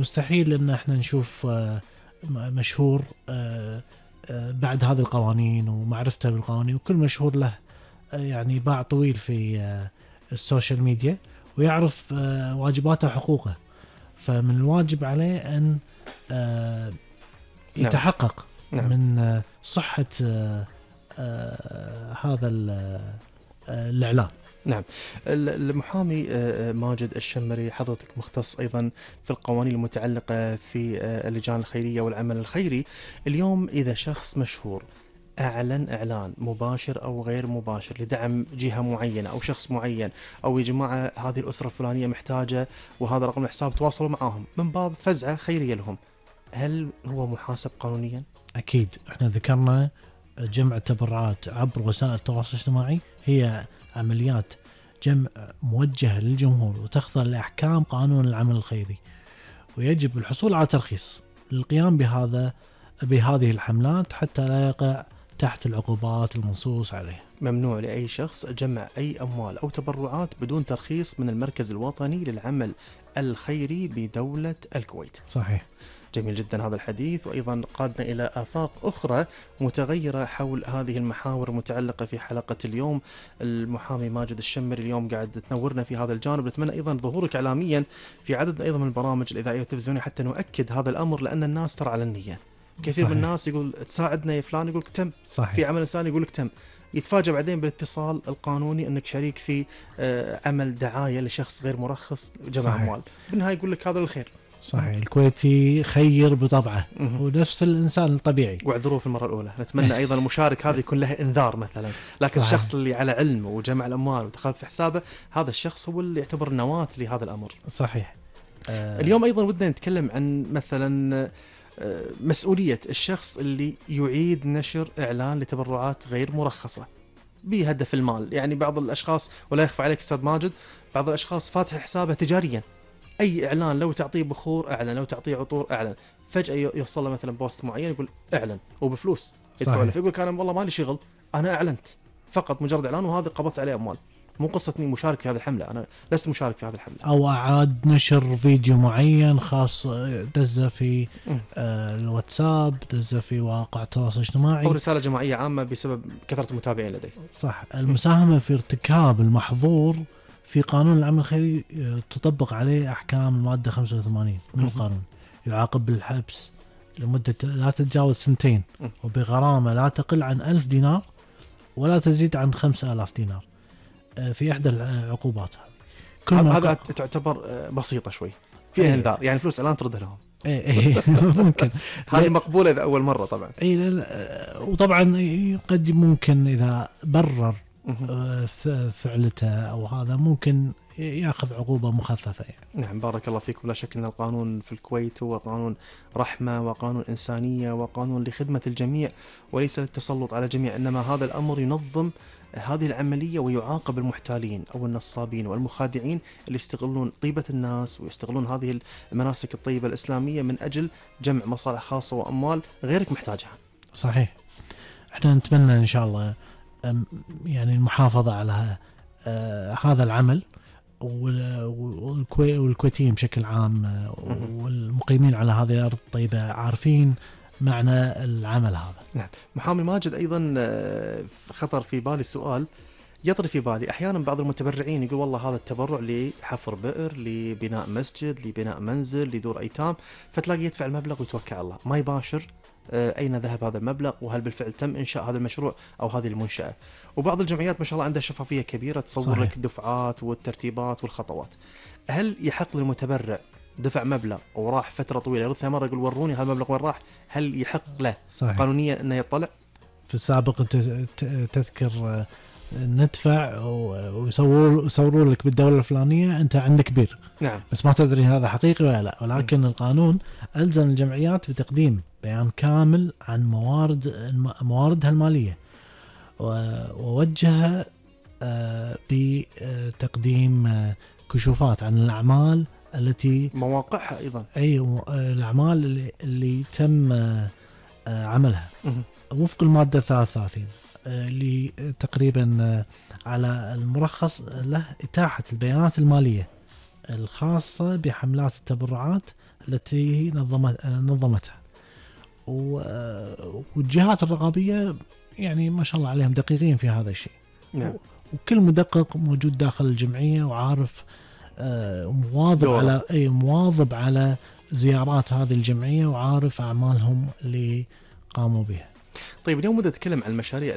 مستحيل ان احنا نشوف مشهور بعد هذه القوانين ومعرفته بالقوانين، وكل مشهور له يعني باع طويل في السوشيال ميديا ويعرف واجباته وحقوقه، فمن الواجب عليه أن يتحقق من صحة هذا الإعلان. نعم. المحامي ماجد الشمري، حضرتك مختص أيضا في القوانين المتعلقة في اللجان الخيرية والعمل الخيري. اليوم إذا شخص مشهور أعلن إعلان مباشر أو غير مباشر لدعم جهة معينة أو شخص معين، أو يا جماعة هذه الأسرة الفلانية محتاجة وهذا رقم الحساب تواصلوا معاهم من باب فزعة خيرية لهم، هل هو محاسب قانونيا؟ أكيد. احنا ذكرنا جمع التبرعات عبر وسائل التواصل الاجتماعي هي عمليات جمع موجهة للجمهور وتخضع لأحكام قانون العمل الخيري، ويجب الحصول على ترخيص للقيام بهذه الحملات حتى لا يقع تحت العقوبات المنصوص عليها. ممنوع لأي شخص جمع أي أموال أو تبرعات بدون ترخيص من المركز الوطني للعمل الخيري بدولة الكويت. صحيح. جميل جدا هذا الحديث، وأيضا قادنا إلى آفاق أخرى متغيرة حول هذه المحاور المتعلقة في حلقة اليوم. المحامي ماجد الشمري اليوم قاعد تنورنا في هذا الجانب، نتمنى أيضا ظهورك إعلاميا في عدد أيضا من البرامج الإذاعية والتلفزيونية حتى نؤكد هذا الأمر، لأن الناس ترى على النية. كثير من الناس يقول تساعدنا يا فلان، يقولك تم. صحيح. في عمل إنساني يقولك تم، يتفاجأ بعدين بالاتصال القانوني أنك شريك في عمل دعاية لشخص غير مرخص جمع أموال، بالنهاية يقول لك هذا الخير. صحيح. الكويتي خير بطبعه ونفس الإنسان الطبيعي. واعذروه في المرة الأولى. نتمنى أيضا المشارك هذا يكون له إنذار مثلا، لكن صحيح. الشخص اللي على علم وجمع الأموال ودخلت في حسابه، هذا الشخص هو اللي يعتبر نواة لهذا الأمر. صحيح. اليوم أيضا ودنا نتكلم عن مثلا مسؤولية الشخص اللي يعيد نشر إعلان لتبرعات غير مرخصة بهدف المال. يعني بعض الأشخاص، ولا يخفى عليك أستاذ ماجد، بعض الأشخاص فاتح حسابه تجاريا، أي إعلان لو تعطيه بخور أعلن، لو تعطيه عطور أعلن، فجأة يوصل له مثلا بوست معين يقول أعلن وبفلوس يدفع له، فيقول أنا والله مالي شغل، أنا أعلنت فقط مجرد إعلان وهذا قبضت عليه أموال. مو قصة إني مشارك في هذه الحملة، أنا لست مشارك في هذه الحملة. أو أعاد نشر فيديو معين خاص دزه في الواتساب، دزه في واقع التواصل الاجتماعي، أو رسالة جماعية عامة بسبب كثرة المتابعين لديه. صح. المساهمة في ارتكاب المحظور في قانون العمل الخيري تطبق عليه أحكام المادة 85 من القانون، يعاقب بالحبس لمدة لا تتجاوز 2 وبغرامة لا تقل عن 1000 دينار ولا تزيد عن 5000 دينار في إحدى العقوبات هذه. هذا تعتبر بسيطة شوي، فيها انذار، يعني فلوس الآن ترد لهم. ممكن هذه مقبولة إذا أول مرة طبعا. وطبعا قد ممكن إذا برر فعلته أو هذا ممكن يأخذ عقوبة مخففة يعني. نعم بارك الله فيكم. لا شك أن القانون في الكويت هو قانون رحمة وقانون إنسانية وقانون لخدمة الجميع وليس للتسلط على الجميع، إنما هذا الأمر ينظم هذه العملية ويعاقب المحتالين أو النصابين والمخادعين اللي يستغلون طيبة الناس ويستغلون هذه المناسك الطيبة الإسلامية من أجل جمع مصالح خاصة وأموال غيرك محتاجها. صحيح. احنا نتمنى إن شاء الله يعني المحافظة على هذا العمل، والكويتيين بشكل عام والمقيمين على هذه الأرض الطيبة عارفين معنى العمل هذا. نعم. محامي ماجد أيضا خطر في بالي سؤال يطري في بالي. أحيانا بعض المتبرعين يقول والله هذا التبرع لحفر بئر، لبناء مسجد، لبناء منزل، لدور أيتام، فتلاقي يدفع المبلغ ويتوكل على الله، ما يباشر أين ذهب هذا المبلغ وهل بالفعل تم إنشاء هذا المشروع أو هذه المنشأة. وبعض الجمعيات ما شاء الله عندها شفافية كبيرة تصور لك الدفعات والترتيبات والخطوات. هل يحق للمتبرع دفع مبلغ وراح فترة طويلة يرد مرة يقول وروني هذا المبلغ وين راح، هل يحق له قانونيا أنه يطلع؟ في السابق تذكر ندفع ويصوروا لك بالدولة الفلانية أنت عندك بير. نعم. بس ما تدري هذا حقيقي ولا لا، ولكن القانون ألزم الجمعيات بتقديم بيان كامل عن مواردها المالية ووجهها بتقديم كشوفات عن الأعمال التي مواقعها أيضا، أي الأعمال اللي تم عملها وفق المادة 33 اللي تقريبا على المرخص له إتاحة البيانات المالية الخاصة بحملات التبرعات التي نظمتها. والجهات الرقابية يعني ما شاء الله عليهم دقيقين في هذا الشيء. نعم. وكل مدقق موجود داخل الجمعية وعارف مواظب على زيارات هذه الجمعية وعارف أعمالهم اللي قاموا بها. طيب اليوم بدنا نتكلم عن المشاريع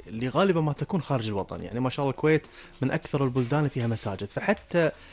اللي غالبا ما تكون خارج الوطن. يعني ما شاء الله الكويت من أكثر البلدان فيها مساجد، فحتى